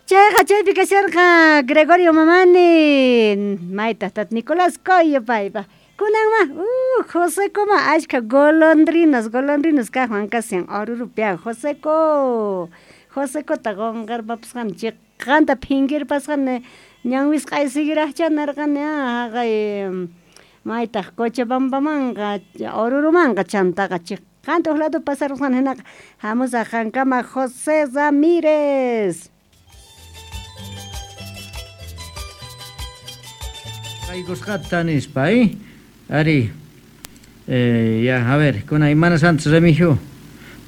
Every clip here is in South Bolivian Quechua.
Chayqa chaypi kasharqa Gregorio Mamani, maytaq tata Nicolás Coyo paypa. Kunanma, Josecoma ashkha golondrinas, golondrinas kaqwan kashan Orurupi Joseco. Josecota qonqarpapasqani chiqanta phinkirpasqani ñan wisq'ay seguiraqcha nirqani haqay maytaq Cochabambamanqa Orurumanqa chantaqa chiqanta huk lado pasarusqani hinaqa hamusaq qankama José Ramírez. Qaykusqata nispa, eh? Ari, ya, a ver, kuna imana santos Remigio.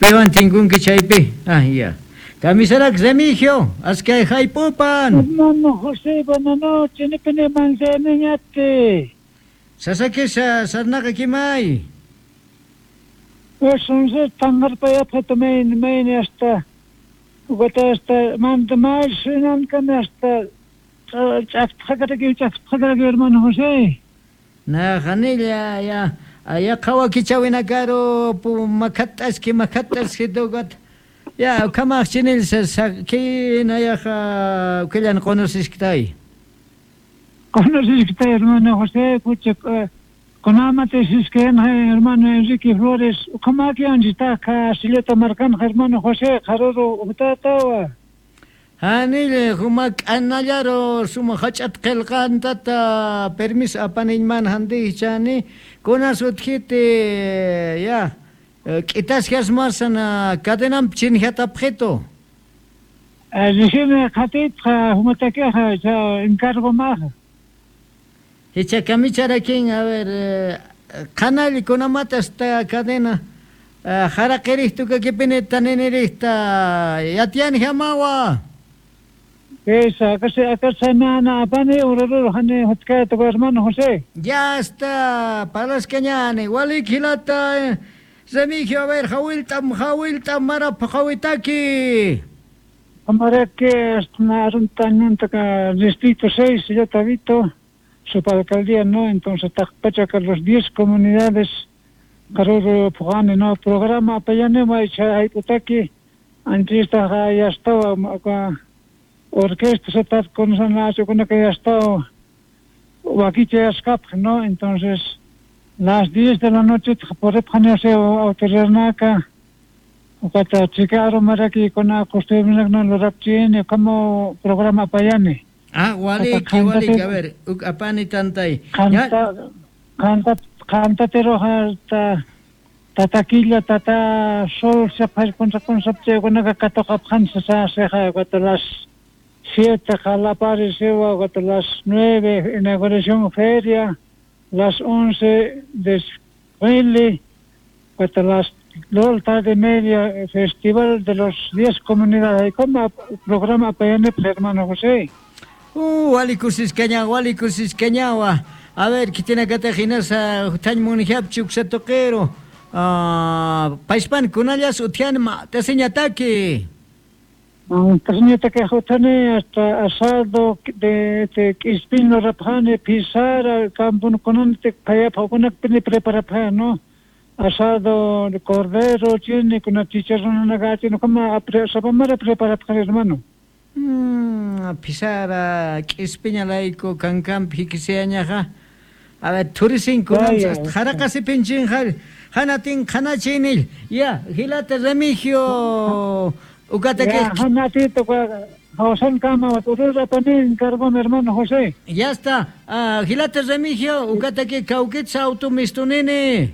Piwan tinkunki chaypi? Ah, ya. Kamisarak Remigio, askay haypupan. Hermano José, buenas noches, nipini manzaniñate. Sasakisha sarnaqa kimay. Eso tangarpayapqa main main hasta ugata hasta manda mal sunan hasta ch'aqtaqaraki ch'aqtaqaraki hermano José. Na hanilla ya ya qhawakichawinakaru pu makhat'aski makhat'aski tukat ya kamaq chinil kina yaqa ukillan qonosiskitay. Conoces hermano José, pucha, kunamate sisken hermano Enrique Flores, kamakian chitaka silleta marcan hermano José, jaroro utatawa. Hanille humak anallaro suma hach'at qillqantata permiso apaniñman handichani kunas utjiti ya k'itasqas masana cadenam chinjatapqito. Recibe qatitqa humatakeja cha encargo maja. Hicha kamicharakin a ver qanalli kunamata esta cadena haraqirihtu kakipini taninirihta yatiani hamawa. Esa, acá mana apani ururu hani hutkaya hermano José. Ya está, palascañani, walik hilata, Remigio, a ver, jawiltam, jawiltam, marap, jawitaki. Amarake, hasta distrito 6, ya tabito, subalcaldía, ¿no? Entonces, Tacpachaca, los 10 comunidades, Caruro, Pujane, ¿no? Programa, apayane, maicha, haiputaki, antes ya estaba, orquesta se está con con que ya estaba, huaquiche ¿no? Entonces, las 10 de la noche, por autoridad ukata chicaro maraki con la costumbre no lo rapchine como programa payane. Ah, waliki, waliki, a ver, apani tantay. Canta, canta, cantatero hasta tataquilla, tata sol, se con con con katoka phansa sa se ja las 7 jalapare sewa las 9 inauguración feria, las 11 desfile, hasta las 2 tarde media festival de los 10 comunidades. ¿Cómo programa PN, hermano José? Walikusiscaña, walikusiscañawa. A ver, ¿qué tiene que te jinasa tañ munijapchi uksatoquero? Paispan kunallas utian ma taseñataki. Taseñataki jutane hasta asado de ispino rapjane pisara campun kunante payapa kunakpini preparapja, ¿no? Asado de cordero, tiene con chicharrón una gacha, no como sabamara preparapja, hermano. Pisara kispiña laico cancamp hikiseañaja. A ver, turisin kunam jaraqasi pinchinjal hanatin hanachinil. Ya, hilata Remigio ukata que Ya, hanatito José Cama, urura panin cargo mi hermano José. Ya está. Hilata Remigio ukata que cauquitsa auto mistunini.